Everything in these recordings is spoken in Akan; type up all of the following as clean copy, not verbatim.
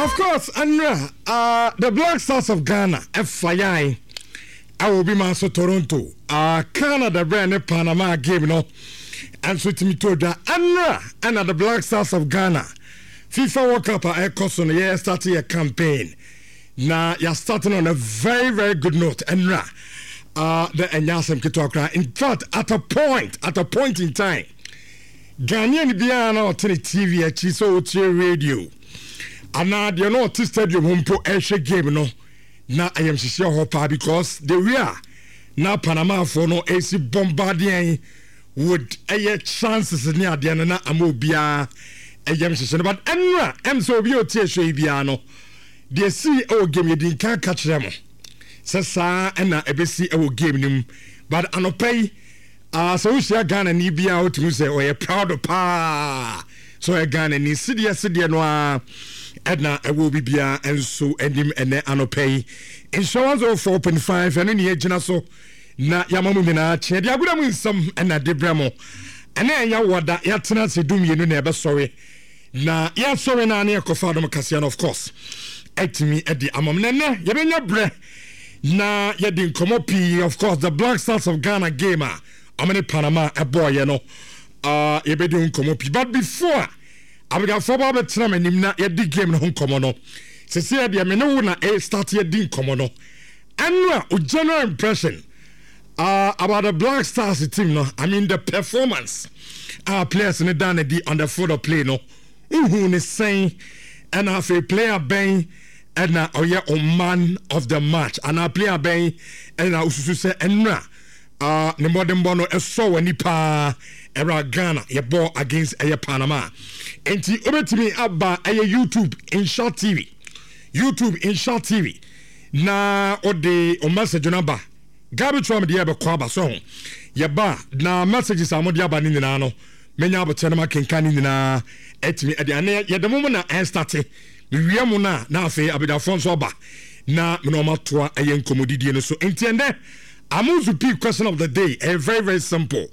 Of course, Anra, the Black Stars of Ghana, ɛfa ɛwɔ obi ma so Toronto, Canada brɛ ne Panama game no ɛnso tumi to dwa. Anra ɛna the Black Stars of Ghana FIFA World Cup a ɛkɔ so no yɛ start yɛ campaign na yɛ start no on a very very good note. Ɛnra the ɛnyɛ asɛm ketewa koraa. In fact, at a point in time, Ghanaian biara na ɔte ne TV akyi sɛ ɔtie radio anaa deɛ na ɔte stadium hɔ mpo ɛrehwɛ game no na ayamhyehyeɛ hɔ paa, because the way a na Panamafoɔ no ɛsi bombardeɛ would ɛyɛ chances ne adeɛ no na ama obiara ɛyam hyehyɛ no. But ɛnora sɛ obi a ɔtie hwɛ yi biara no, deɛ si ɛwɔ game, yɛdi nka ka kyerɛ mo sɛ saa ɛna ɛbɛsi ɛwɔ game no mu. But anɔpa yi, sɛ wohyia Ghana ni biara, wotumi sɛ ɔyɛ proud paa sɛ ɔyɛ Ghana ni. Sedeɛ sedeɛ no a ɛna ɛwɔ obi biara nso anim ɛnɛ anɔpa yi. Nhyɛ 104.5, ɛno ne yɛgyina so na yɛama mu nyinaa kyeɛ de agorɔ mu nsɛm ɛna de brɛ mo. Ɛnɛ ɛyɛ wɔda yɛatena ase 12 na ɛbɛsɔre na yɛsɔre no a ne yɛkɔfa Adom kaseɛ no, of course, atumi de ama m. Na ɛnɛ yɛbɛnya berɛ na yɛde nkɔmmɔ pii. Of course, the Black Stars of Ghana game a ɔmo ne Panama ɛbɔɔyɛ no, yɛbɛdi ho nkɔmmɔ pii. But before abigafoɔ ba bɛtena m'anim na yɛdi game no ho nkɔmmɔ no, sɛsɛ yɛ deɛ me ne wo na start yɛdi nkɔmmɔ no. Ɛno a o general impression about the Black Stars team no, I mean, the performance a players no dan adi on the field of play no, wohu ne sɛn? Ɛna afei player bɛn ɛna ɔyɛ o man of the match, anaa player bɛn ɛna osusu sɛ ɛnura ne mmɔdenbɔ no ɛsɔ w'ani paa ɛwura Ghana yɛbɔ against ɛyɛ Panama? Nti wobɛtumi aba ɛyɛ YouTube Insha TV, YouTube Insha TV, na ɔde o message no aba. Gabi Trump deɛ ɛbɛkɔ aba so ho yɛba na messages a mode aba no nyinaa no, menya abotire no makenka ne nyinaa atumi ɛde ane yɛde mo na ɛstart. Mewie mo no a, na afei abadwafoɔ nso aba na mene ɔma toa ɛyɛ nkɔmmɔdidie no so. Nti ɛndɛ Amuzu P question of the day ɛyɛ very very simple: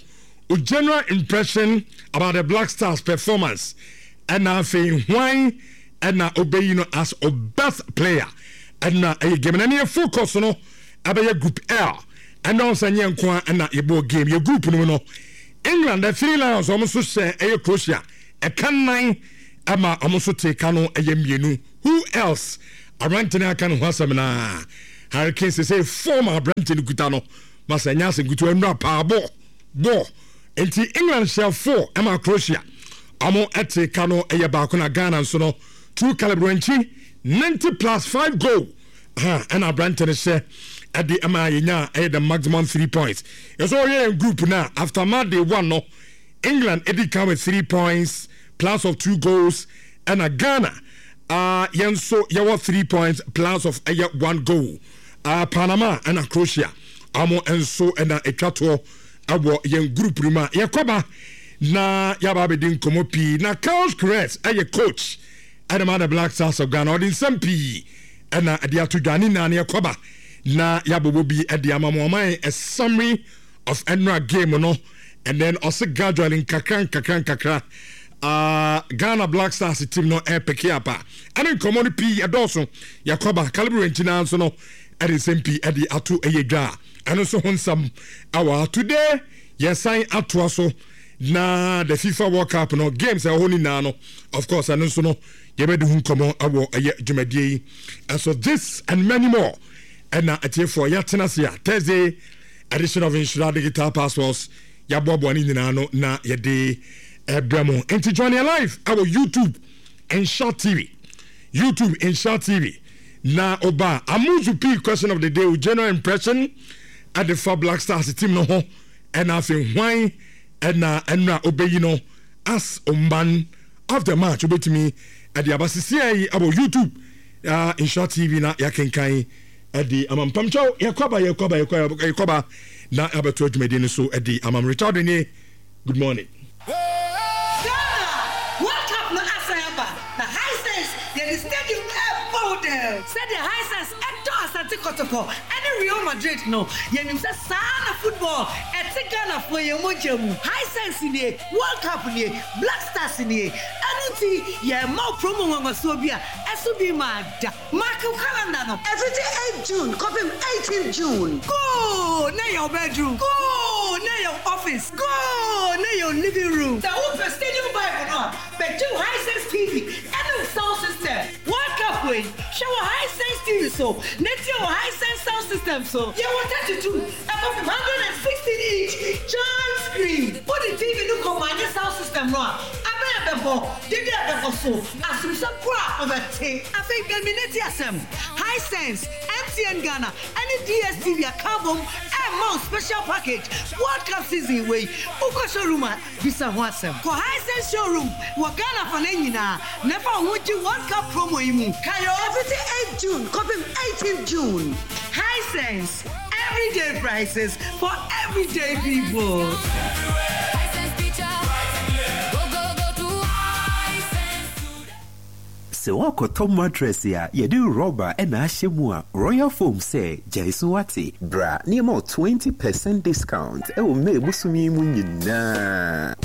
o general impression about the Black Stars performance, ɛna afei hwan ɛna ɔbɛyi no as o best player ɛna ɛyɛ game na ne yɛ focus no ɛbɛyɛ Group L. Ɛna ɔsɛ nyɛ nko a ɛna yɛbɔ game yɛ group no mu no, England, the Three Lions, wɔn nso hyɛ ɛyɛ Croatia ɛka nnan ɛma wɔn nso te ka no ɛyɛ mmienu. Who else? Aberante no aka ne ho asɛm naa, Harry Kane. Sɛ form aberante no kuta no masa ɛnyɛ asɛm kutu. Ɛnura paa bɔ bɔ. Nti England hyɛ four ɛma Croatia wɔn ɛte ka no ɛyɛ baako. Na Ghana nso no, two Caleb Yirenkyi, 90 plus 5 goal ha ɛna aberante no hyɛ ɛde ɛma yɛnya ɛyɛ the maximum 3 points. Yɛsɛ ɔyɛ yɛn group na after match day one no, England ɛdi kan with 3 points plus of two goals, ɛna Ghana yɛn nso yɛwɔ 3 points plus of ɛyɛ one goal. Panama ɛna Croatia, ɔmo nso ɛna atwa toɔ ɛwɔ yɛn group no mu a yɛkɔba na yɛaba abɛdi nkɔmmɔ pii. Na Carlos Queiroz ɛyɛ coach ɛna ma the Black Stars of Ghana, ɔde nsɛm pii ɛna ɛde ato dwa ne nyinaa no yɛkɔba na yɛabobɔ bi ɛde ama mo. Ɔman a summary of ɛnora game no, and then ɔse gradually, nkakra nkakra nkakra, Ghana Black Stars team no ɛpick up a ɛne nkɔmmɔ no pii ɛdɔɔso. Yɛkɔba Caleb Yirenkyi naa nso no ɛde nsɛm pii ɛde ato ɛyɛ dwa a ɛno nso ho nsɛm ɛwɔ. Today yɛsan atoa so na the FIFA World Cup no games ɛwɔ hɔ nyinaa no, of course, ɛno nso no yɛbɛdi ho nkɔmmɔ ɛwɔ ɛyɛ dwumadie yi ɛso. This and many more ɛna atiefoɔ yɛatena ase a Thursday edition of Nhyira Digital Passports yɛaboaboa ne nyinaa no na yɛde ɛbrɛ mo. Nti join yɛn live ɛwɔ YouTube Nhyira TV, YouTube Nhyira TV, na ɔba Amuzu P question of the day, o general impression ɛde fa Black Stars team no ho, ɛna afei hwan ɛna ɛnura ɔbɛyi no as o man of the match? Wobɛtumi ɛde aba sisia yi ɛwɔ YouTube Nhyira TV na yɛakenkan ɛde ama mpamkyɛw. Yɛkɔba, yɛkɔba, yɛkɔba na abɛto adwumadie no so ɛde ama Richard nie. Good morning. Ghana World Cup no asan aba na Hisense yɛde stadium ɛbɔ wo dɛm. Sɛdeɛ Hisense ɛdɔ Asante Kɔtɔkɔ ɛne Real Madrid no, yɛnim sɛ saa na football ɛte Ghanafoɔ yɛn mogya mu. Hisense nie, World Cup nie, Black Stars nie. Ɛno. nti, yɛrema wo promo nwanwasoɔ bi a ɛso bi mmaa da. Mark wo calendar no. Ɛfiti eighth June kɔpem eighteenth June. Go na yɛ wo bedroom. Go na yɛ wo office. Go na yɛ wo living room. Sɛ wopɛ stadium vibe no a, bɛgye wo Hisense TV ɛne wo sound system. World Cup wei, hwɛ wɔ Hisense TV so na tie wɔ Hisense sound system so. Yɛwɔ 32 ɛkɔpem 116 inch giant screen. Wode TV no kɔmane sound system no a, abɛn a ɛbɛbɔ, dede a ɛbɛkɔ so, asomsɛm koro a wobɛte. Afei bɛn asɛm, Hisense, MTN Ghana ɛne DSTV aka abom ɛrema wo special package World Cup season wei. Wokɔ showroom a, bisa ho asɛm. Kɔ Hisense showroom wɔ Ghana afanan nyinaa na fa wo ho gye World Cup promo yi mu. Kae o! Ɛfiti eighth June kɔpem eighteenth June. Hisense, everyday prices for everyday people. Sɛ woakɔtɔ mattress a yɛde rɔba na ahyɛ mu a, Royal Foam sɛ gyae su wate. Bra na yɛma wo 20 percent discount wɔ May bosome yi mu nyinaa.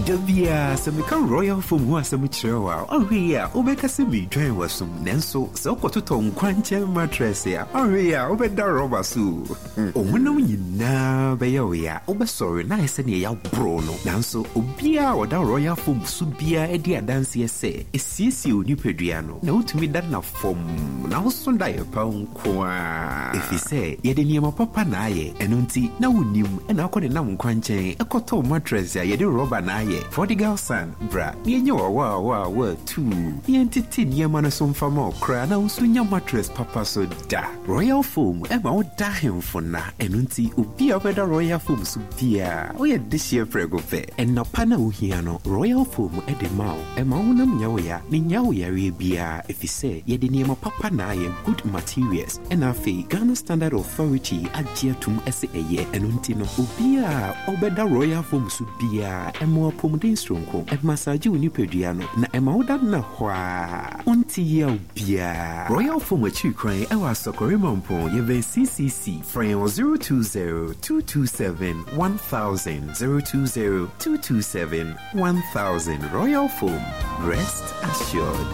Da biara sɛ meka Royal Foam ho asɛm kyerɛ wo a, ɔnhwɛ yie a wobɛka sɛ meredwan w'asom. Nanso sɛ wokɔtotɔ nkwankyɛn mattress a, ɔnhwɛ yie a wobɛda rɔba so o. Wo honam nyinaa bɛyɛ wo ya, wobɛsɔre na ayɛ sɛ nea yɛaboro no. Nanso obiara a ɔda Royal Foam so biara di adanseɛ sɛ ɛsiesie wo nipadua no, na wotumi da nna fɔmm, na woso daeɛ pa nko ara. Ɛfiri sɛ yɛde nneɛma papa na ayɛ, ɛno nti na wonnim na wokɔ nenam nkwankyɛn kɔtɔ mattress a yɛde rɔba na ayɛ. Prodigal son, bra na yɛnyɛ wo awaawaawaa tuu na yɛntete nneɛma no so mfa ma wo koraa na wo nso nya mattress papa so da. Royal Foam ma wo da ahemfo nna, ɛno nti obi a ɔbɛda Royal Foam so biara, woyɛ dehyeɛ prɛko pɛ. Nna pa no a wohia no, Royal Foam de ma wo. Ɛma wo honam nyɛ wo ya, na ennyaa wo yareɛ biara, efisɛ yɛde nneɛma papa na ayɛ, good materials, ɛna afei Ghana Standard Authority agye atum sɛ ɛyɛ. Ɛno nti no, obiara a ɔbɛda Royal Foam so biara, ɛma wo apɔmuden soronko, ɛmasaagye wo nipadua no, na ɛma woda nna hɔ ara, wonte yaw biara. Royal Foam akyiri kwan wɔ Asɔkɔre Mampong, yɛbɛn CCC. Frɛ yɛn wɔ 020 227 1000, 020 227 1000. Royal Foam, rest assured.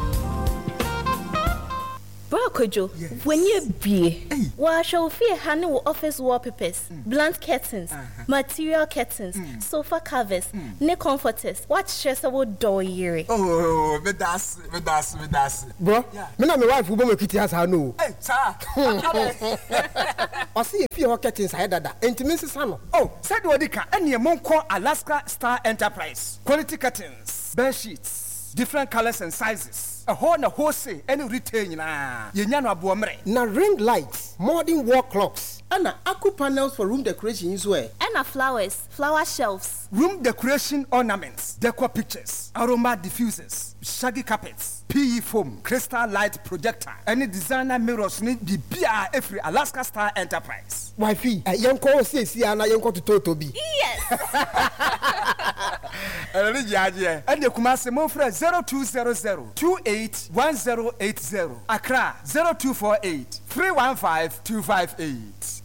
Bra Kwadwo, w'ani abue. Wɔahwɛ wo fie ha ne wo office wallpapers, blunt curtains, material curtains, sofa covers, ne comforters. Woakyerɛ sɛ wodɔ wo yere. Oh, meda ase, meda ase, meda ase. Bro, me na me wife bɔ m'akiti ha saa no o. Ei, saa? Adɛn? Ɔse yɛ fie hɔ curtains ayɛ dada, enti mensesa no. Oh, sɛdeɛ ɔdi ka, ɛneɛ monkɔ Alaska Star Enterprise, quality curtains, bed sheets, different colours and sizes, ɛhɔ na wholesale ɛne retail nyinaa, yɛnya no aboɔmmerɛ. Na ring lights, modern wall clocks, ɛna aku panels for room decoration yi nso ɛ? Ɛna flowers, flower shelves. Room decoration ornaments, decor pictures, aroma diffusers, shaggy carpets, PE foam, crystal light projector, ɛne designer mirrors ne biribiara ɛfiri Alaska Star Enterprise. Wifey, yɛnkɔ hɔ seesei ara na yɛnkɔtotɔtɔ bi. Yes! Ɛno ne gyeagyeɛ. Ɛnneɛ Kumasi momfrɛ 0200 28 1080, Accra 0248 315 258.